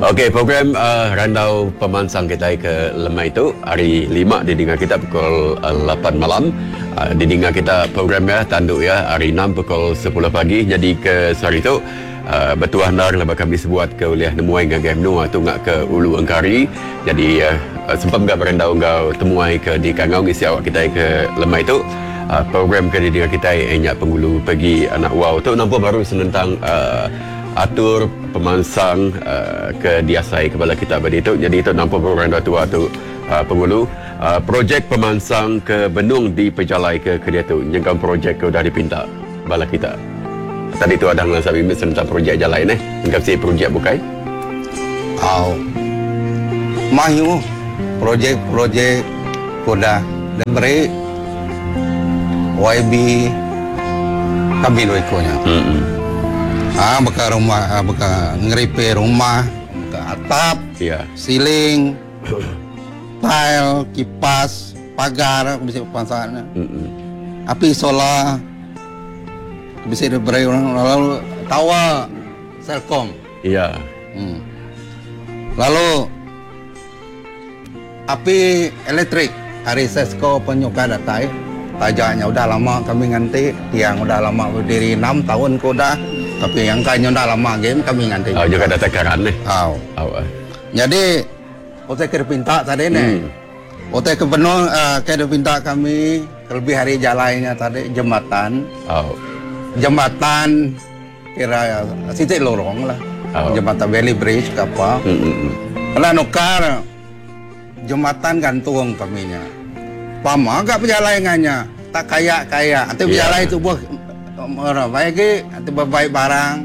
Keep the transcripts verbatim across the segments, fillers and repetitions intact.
Okey, program uh, Randau Pemansang kita ke lemai tu hari lima didinga kita pukul uh, lapan malam. Uh, didinga kita program ya tanduk ya hari enam pukul sepuluh pagi. Jadi ke sehari tu uh, bertuah ndar lepas kami sebuat ke uliah nemuai ngagai menua tu ngak ke Ulu Engkari. Jadi uh, sempat enggak berandau enggau temuai ke di Kangau ngisi awak kita ke lemai tu. Uh, program ke didinga kita enyak penghulu pergi anak wow tu nampak baru senentang uh, atur pemansang uh, ke diasai kepala kita bagi itu. Jadi itu nampak program dah tua tu uh, penghulu uh, projek pemansang ke Benung di Pejalai ke Kedia tu nyengkam projek ke udah dipinta bala kita. Tadi tu ada ngelansa bimbing tentang projek jalai ni. Engkau si projek bukai? Au. Mayu projek-projek udah diberi Y B kami dua ikonya. Hmm. Ah, beka rumah, ah, beka ngeripe rumah, beka atap, ya. Siling, tile, kipas, pagar, bisa pasangan. Mm-mm. Api solar, bisa diberi orang lalu tawa Celcom. Ya. Hmm. Lalu api elektrik hari Sesco penyuka datai. Tajaknya udah lama kami nganti, tiang udah lama berdiri enam tahun ke udah. Tapi yang kayaknya udah lama game kami nganti. Oh, juga datang karan nih. Oh. Oh. Jadi otak ke pinta tadi nih. Hmm. Otak ke penuh, uh, ke pinta kami lebih hari jalannya tadi jembatan. Oh. Jembatan kira sitik lorong lah. Oh. Jembatan Bailey Bridge ke apa. Hmm, hmm, hmm. Kalau nukar jembatan gantung kaminya. Pama agak perjalanannya tak kayak-kayak. Nanti Yeah. berjalan itu buah orang baik ke, nanti berbaik barang,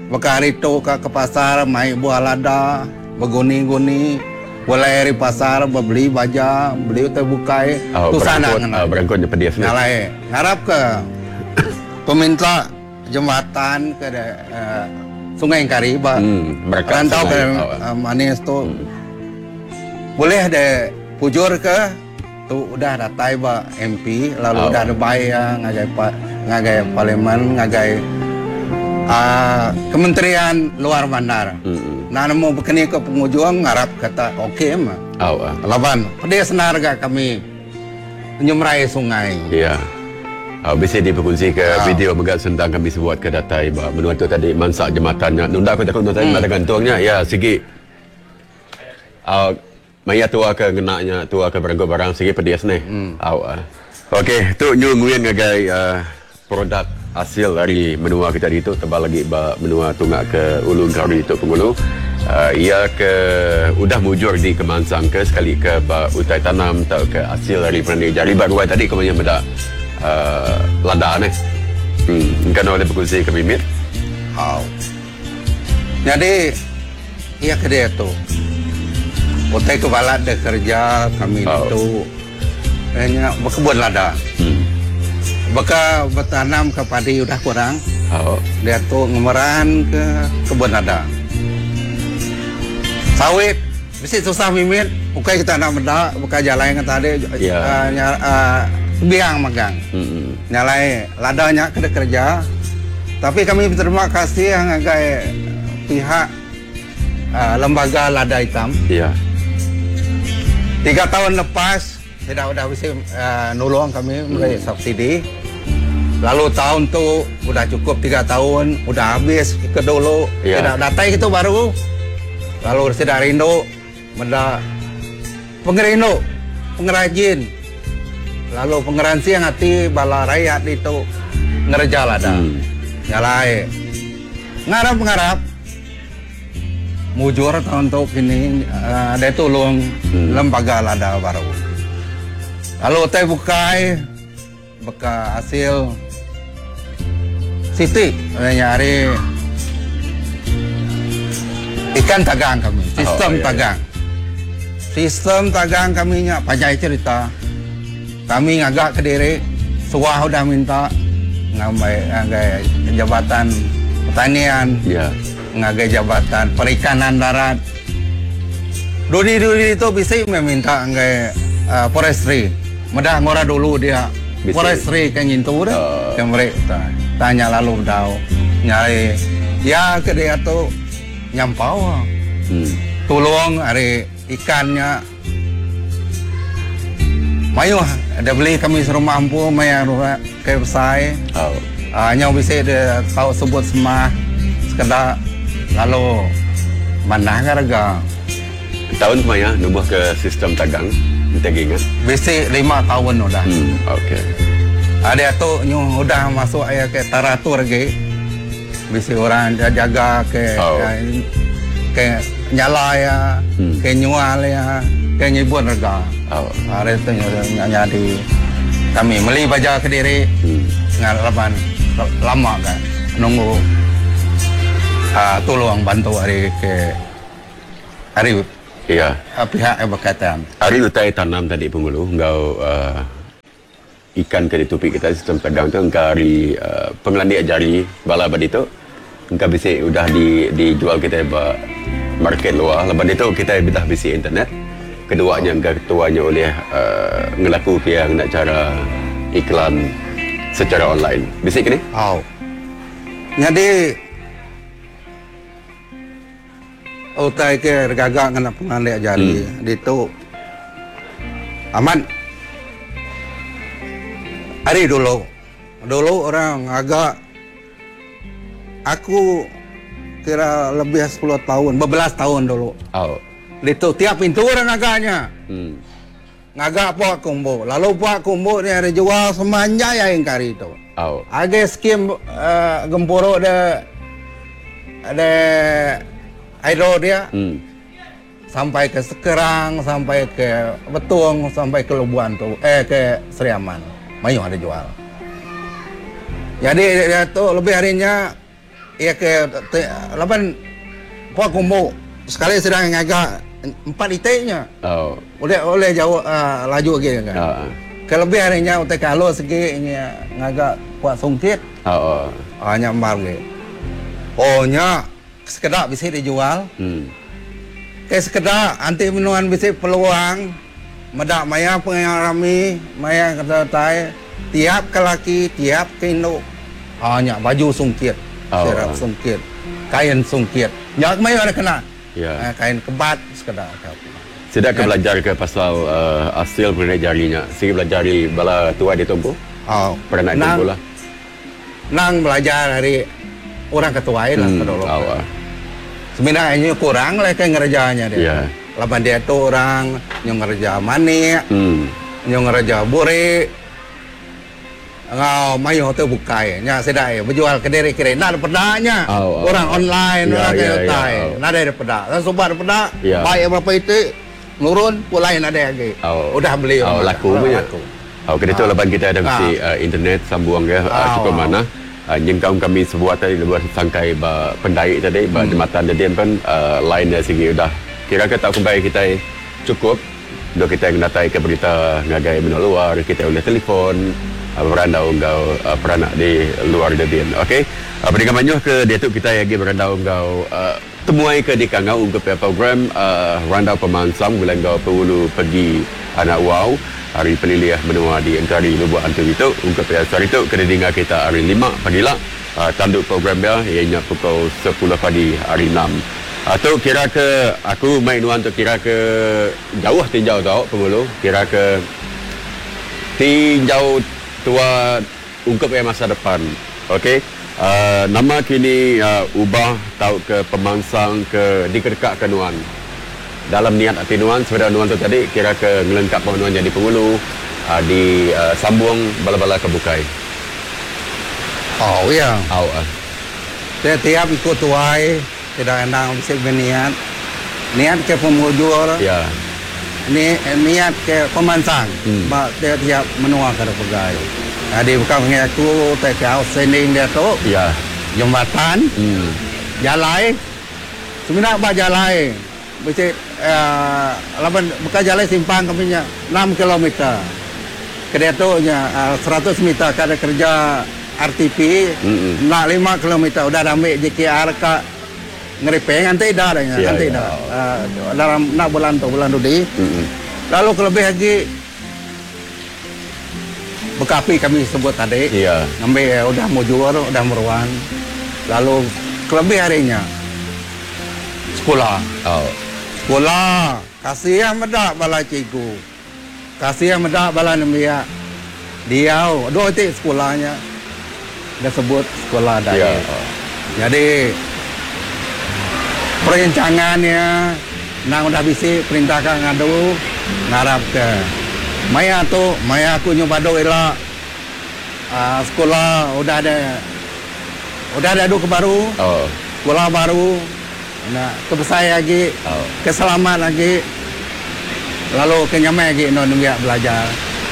bekari tu ke, ke pasar, mai buah lada, berguni-guni, boleh dari pasar, beli baja, beli utai bukai, Oh, tu sana berangkut, kena. oh, berangkutnya pedih sini. Ngalai, ngarap ke peminta jembatan ke de, uh, Sungai Engkari, ba, Hmm, mereka rantau sungai, ke, oh. uh, manis tu. Hmm. Boleh de pujur ke tu udah datai ba M P, lalu Oh. udah ada bayang ngagai pa, ngagai parlimen, ngagai, uh, Kementerian Luar Bandar. Hmm. Nah, nemu bekeni ke penghujung ngarap kata okey mah. Oh, ah. Laban pedih senar ga kami menyemrai sungai. Ya. Oh, bisa diperkongsi ke Ah. video mega sentang kami sebuat ke datai ba menua tu tadi mansak jembatannya. Nunda aku takut nunda hmm. Ada gantungnya. Ya, segi. Uh, maya tua ke ngenaknya, tua ke berangkut barang segi pedih ni. Hmm. Oh, ah. Okey, tu nyu nguyen ngagai, uh, produk hasil dari menua kita itu tebal lagi ba menua tungak ke Ulu Engkari itu penghulu. Uh, ia ke udah mujur di kemansang ke sekali ke ba utai tanam atau ke hasil dari perani jari baru tadi kemanya benda, uh, lada ni. Hmm, kan oleh berkongsi ke bimit. Hau. Jadi ia ke dia tu. Utai ke balat dia kerja kami Oh. itu hanya berkebun lada. Hmm. Baka bertanam ke padi udah kurang. Oh. Dia tu ngemeran ke kebun lada. Sawit mesti susah mimit. Bukan kita nak benda, bukan jalan yang tadi, Ya. uh, ny-, uh, biang magang. Hmm. Nyalai ladanya kena kerja. Tapi kami berterima kasih yang ngagai pihak, uh, lembaga lada hitam. Ya. Tiga tahun lepas tidak udah bisa, uh, nolong kami mulai Hmm. subsidi. Lalu tahun tu udah cukup tiga tahun, udah habis ke dulu. Ya. Tidak datang itu baru. Lalu sudah rindu, benda pengerindu, pengrajin. Lalu pengeransi yang hati bala rakyat itu ngerja lada. Hmm. Nyalai. Ngarap-ngarap. Mujur tahun tu kini, uh, ada tolong Hmm. lembaga lada baru. Lalu teh bukai beka hasil siti nyari ikan tagang kami, sistem Oh, iya, iya. tagang. Sistem tagang kami nya panjai cerita. Kami ngagak ke diri, suah udah minta ngambil ngagai jabatan pertanian, Ya. ngagai jabatan perikanan darat. Dudi-dudi itu bisa meminta ngagai, uh, forestry. Medah ngora dulu dia. Bisa. Forestry kan ngintu dah. Oh. Yang mereka tanya lalu dau. Nyari ya ke dia tu nyampau. Hmm. Tolong hari ikannya. Mayuh ada beli kami serumah ampu maya ke besai. Oh. Uh, nyau bisa dia tahu sebut semah sekedar lalu mana harga. Tahun kemaya numbuh ke sistem tagang kita ingat. Bisi lima tahun udah. Hmm, okey. Ada tu nyu udah masuk aya ke taratur lagi. Bisi orang jaga ke oh. ke nyala ya, hmm. ke nyual ya, ke nyibun harga. Oh. Hari tu nyu di kami beli baja ke diri. Hmm. Ngalaman lama kan nunggu uh, tolong bantu hari ke hari ya uh, pihak yang berkaitan. Hari utai tanam tadi pengulu ngau uh, ikan ke ditupi kita sistem tagang tu engkau hari uh, pengelandik jari bala badi tu engkau bisa udah di, dijual kita ba market luar. Lepas itu kita dah bisi internet. Keduanya engkau ketuanya oleh uh, ngelaku ke yang nak cara iklan secara online. Bisik ke ni? Oh. Jadi utai ke gagak kena pengandik jari hmm. Ditu aman. Hari dulu. Dulu orang agak aku kira lebih sepuluh tahun, berbelas tahun dulu. Oh. Ditu tiap pintu orang agaknya. Hmm. Ngagak puak kumbu. Lalu puak kumbu ni ada jual semanjai yang kari itu. Oh. Ada skim uh, gempuruk de ada aero dia. Hmm. Sampai ke Sekerang, sampai ke Betung, sampai ke Lubuan tu, eh ke Seri Aman. Mayuh ada jual. Jadi dia tu lebih harinya ya ke lapan puak kumbu sekali sedang ngagak empat itiknya. Oh. Oleh oleh jauh uh, laju lagi kan. Uh. Kelebih harinya utai kalau segi nya ngagak kuat sungkit. Oh. Ah nya mar ge. Oh nya sekedak bisa dijual. Hmm. Ke sekedak anti menuan bisa peluang medak maya pengarami maya kata tai tiap ke laki tiap ke induk. Ah nya baju sungkit, oh. Serap sungkit, kain sungkit. Nya maya ada kena. Ya. Uh, kain kebat sekedar. Sudah ke belajar ke pasal uh, hasil pengenai jarinya. Sigi belajar di bala tua di Tombo. Oh. Pernah nang, lah. Nang belajar dari orang ketua lah hmm, dulu. Oh. Sebenarnya ini kurang lah ke ngerjanya dia. Yeah. Laban dia tu orang yang ngerja manik, hmm. yang ngerja buri. Ngau mayo tu bukai nya sedai berjual ke diri kiri nak pedaknya oh, oh, orang online ya, orang ya, utai ya, oh. nak ada pedak dan sobat pedak ya. Baik berapa itu nurun pulai nak ada lagi oh. Udah beli oh, laku punya laku. Oh kita tu ah. lepas kita ada mesti ah. uh, internet sambung ya ah, uh, cukup oh. mana uh, nyengkaum kami sebuah tadi buat sangkai ba pendai tadi ba hmm. jembatan tadi kan uh, line dari segi udah kira ke tak kumbai kita cukup do kita yang datai ke berita ngagai menua luar kita boleh telefon berandau ngau uh, peranak di luar Debian. Okey. Uh, Pendengar manyuh ke dia tu kita lagi berandau ngau uh, temuai ke di kangau untuk program uh, Randau Pemansang bulan ngau Pengulu pergi anak wow hari peliliah menua di Engkari Lubuk Antu itu untuk hari itu kena dengar kita hari lima pagi lah uh, tanduk program dia ianya pukul sepuluh pagi hari enam. Atau uh, kira ke aku main nuan tu kira ke jauh tinjau tau Pengulu kira ke tinjau tua ungkap yang masa depan. Okey. Uh, nama kini uh, ubah tau ke pemansang ke dikedekak ke nuan. Dalam niat hati nuan sebenarnya nuan tu tadi kira ke ngelengkap nuan jadi pengulu uh, di uh, sambung bala-bala ke bukai. Oh ya. Oh. Uh. Tiap ikut tuai tidak endang mesti berniat. Niat ke pemujur. Ya. Ni niat ke pemansang. Hmm. Ba tiap-tiap menua ke pegai. Jadi bukan aku tak outstanding dia tu. Ya. Jembatan. Hmm. Jalai. Sebenarnya ba jalai. Mesti uh, laban bukan jalai simpang kami nya enam kilometer. Ke tu nya uh, seratus meter kada kerja R T P. Hmm. Nak lima kilometer udah ambil J K R ke ngeripeng nanti dah dah ya, nanti ya. dah uh, dalam nak bulan tu bulan tu di. Mm-hmm. Lalu kelebih lagi bekapi kami sebut tadi. Ya. Ngambil udah mujur udah meruan. Lalu kelebih harinya Sekula. Oh. Sekula. Kasih meda bala cikgu. Kasih meda bala nembiak. Diau dua ti sekolahnya disebut sekolah Dayak. Ya. Jadi perencangannya nang udah bisi perintah ka ngadu ngarap ke maya tu maya aku nyubado ila uh, sekolah udah ada udah ada adu ke baru. Oh. Sekolah baru nak kebesai lagi, oh. Keselamat lagi, lalu kenyamai lagi no nembiak belajar.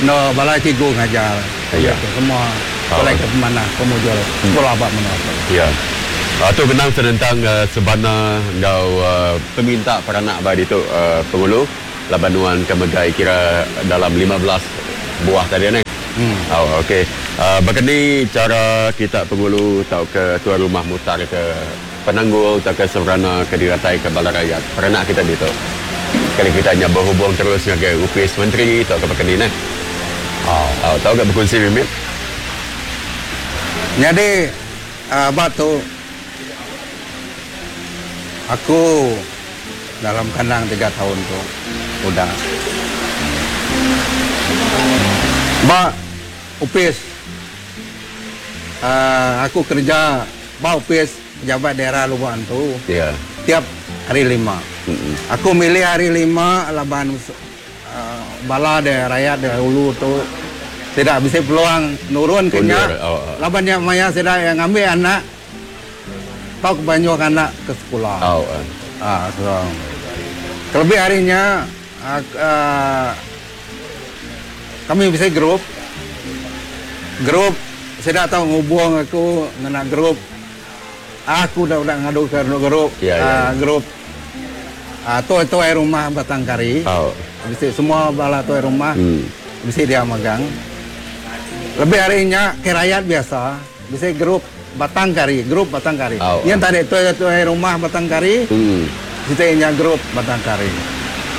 No bala cikgu ngajar. Ya. Semua boleh ke mana pemujur sekolah bak mana. Ya. Uh, tu benang senentang uh, sebana ngau uh, peminta peranak ba ditu uh, pengulu laban nuan ke megai kira dalam lima belas buah tadi ni. Hmm. Oh, okey. Uh, berkeni cara kita pengulu atau ke tuan rumah mutar ke penanggul atau ke seberana ke diratai ke bala rakyat peranak kita ditu. Sekali kita hanya berhubung terus dengan upis menteri atau ke berkeni ni. Oh. Oh, tahu ke berkongsi mimit? Jadi uh, batu aku dalam kandang tiga tahun tu udah. Ba upis uh, aku kerja ba upis pejabat daerah Lubok Antu. Ya. Tiap hari lima. Mm-mm. Aku milih hari lima laban uh, bala de rakyat de hulu tu tidak bisa peluang nurun kenya. Oh, oh. Laban yang maya sudah yang ngambil anak tau kebanyakan anak ke sekolah. Oh, oh. Ah, so. Kelebih harinya uh, uh, kami bisa grup. Grup saya tahu ngubung aku ngena grup. Aku dah udah ngadu ke grup. Ya, ya. Uh, grup. Ah, uh, tu tu air rumah Batang Kari. Oh. Bisa semua bala tu air rumah. Hmm. Bisa dia magang. Lebih harinya ke rakyat biasa, bisa grup Batang Kari, grup Batang Kari. Oh, yang tadi tu tu air rumah Batang Kari. Hmm. Kita nya grup Batang Kari.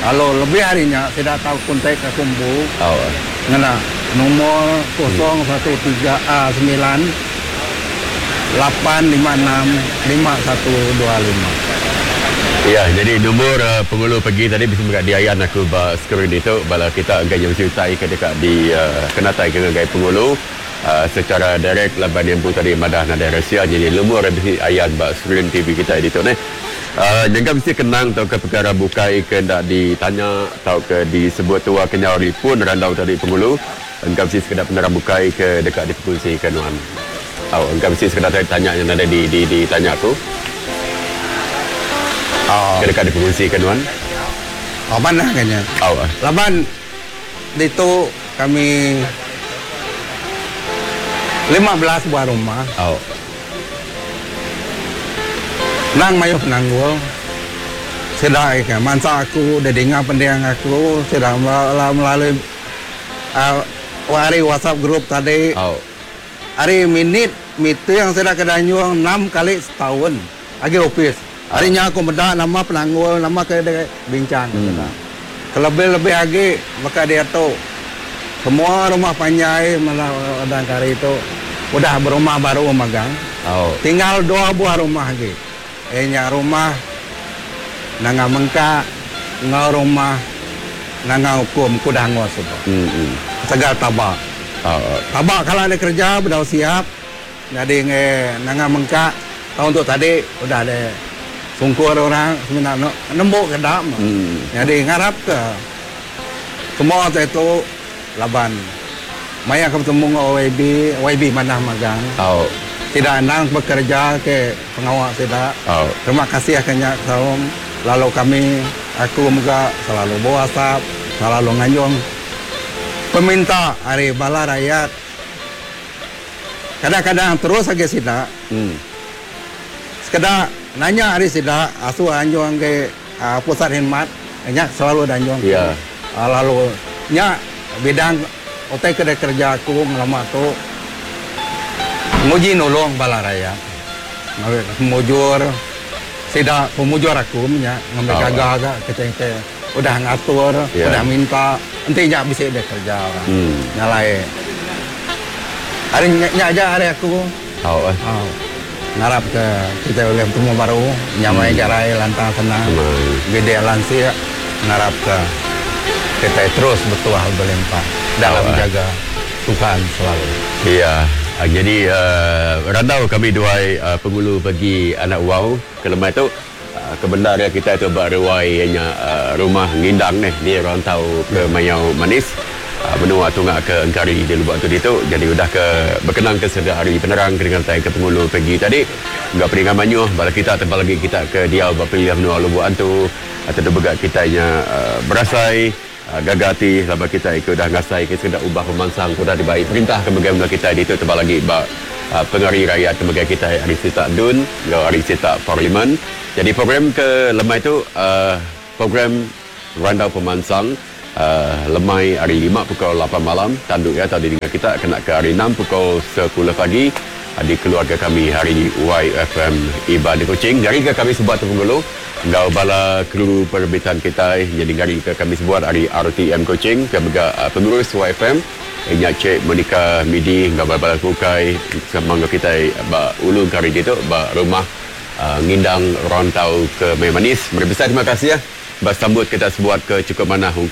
Kalau lebih harinya tidak tahu kontak ke kumbu. Oh. Ngena nomor kosong satu tiga a sembilan lapan lima enam lima satu dua lima. Ya, jadi nombor uh, pengulu pergi tadi bisa dekat diayan aku ba skrin itu bala kita engkai yang utai ke dekat di uh, kenatai ke ngagai pengulu uh, secara direct laban yang pun tadi madah nadai rahsia jadi nombor bisi ayan ba skrin T V kita itu ni. Uh, jangan mesti kenang atau ke perkara bukai ke ndak ditanya atau ke disebut tua kenyari pun randau tadi pengulu engkau mesti sekedar penerang bukai ke dekat diperkongsi ke nuan. Oh, engkau mesti sekedar tanya yang ada di di ditanya aku. Oh. Ke dekat diperkongsikan tuan? Oh, mana kayaknya? Oh. Laban itu kami lima belas buah rumah. Oh. Nang mayu penanggul. Sedai ke mansa aku, dah dengar pendiang aku, sedang melalui uh, hari WhatsApp grup tadi. Oh. Hari minit itu yang sedang kedanyuang enam kali setahun. Lagi office. Harinya aku medak nama penanggul, nama ke dia bincang. Hmm. Kelebih-lebih lagi maka dia tu semua rumah panjai malah dan kari itu udah berumah baru magang. Oh. Tinggal dua buah rumah lagi. Eh nya rumah nanga mengka, ngau rumah nanga hukum kudah ngos itu. Hmm, hmm. Segal tabak. Oh. Tabak kalau ada kerja berdau siap. Jadi nge nanga mengka tahun tu tadi udah ada sungkur orang sebenarnya nembuk ke dam. Hmm. Jadi ngarap ke semua itu laban. Maya ketemu dengan O Y B, O Y B mana magang. Oh. Tidak nang bekerja ke pengawal tidak. Oh. Terima kasih akhirnya salam. Lalu kami aku juga selalu bawa WhatsApp, selalu nganjung peminta hari bala rakyat. Kadang-kadang terus saja tidak. Hmm. Sekedar nanya hari sida asu anjung ke uh, pusat khidmat nya selalu danjung. Ya. Uh, lalu nya bidang otai kedai kerja aku ngelama tu nguji nolong bala raya. Ngambil pemujur sida pemujur aku nya ngambil Oh. gagah agak keceng-keceng udah ngatur, Ya. udah minta enti nya bisa dia kerja orang. Hmm. Nyalai. Hari nya, nya aja hari aku. Oh. Oh. Ngarap ke kita ulih betemu baru nyamai garai lantang senang gede lansik ngarap ke kita terus bertuah berlimpah dalam jaga Tuhan selalu. Iya. Jadi uh, randau kami duai uh, Penghulu Pegi Anak Wau ke lemai tu uh, kebendar ya kita tu ba ruai nya uh, rumah ngindang ni di rantau ke Mayau Manis uh, menua tunga ke Engkari di Lubok Antu ditu. Jadi udah ke berkenang ke seda hari penerang ke dengan tai ke Penghulu Pegi tadi enggau peningan manyuh bala kita tebal lagi kita ke diau ba pilih menua Lubok Antu atau tu bega kita nya uh, berasai Uh, gaga ati laba kita ikut dah ngasai ke sekedar ubah pemansang udah dibai perintah ke megai menua kita ditu tebal lagi ba uh, pengari rakyat ke megai kita hari Sita Dun enggau hari Sita Parlimen. Jadi program ke lemai tu uh, program Randau Pemansang uh, lemai hari lima pukul lapan malam tanduk ya tadi dengan kita kena ke hari enam pukul sepuluh pagi uh, di keluarga kami hari Y F M Iban di Kuching. Jadi ke kami sebuat tu penggulu enggau bala kru perbitan kita jadi ngari ke kami sebuat hari R T M Kuching ke mega uh, pengurus Y F M nya Cik Monica Midi enggau bala kukai sama enggau kita ba ulu kari ditu ba rumah uh, ngindang rantau ke Manis. Meri besar terima kasih ya. Ba sambut kita sebuat ke cukup manah.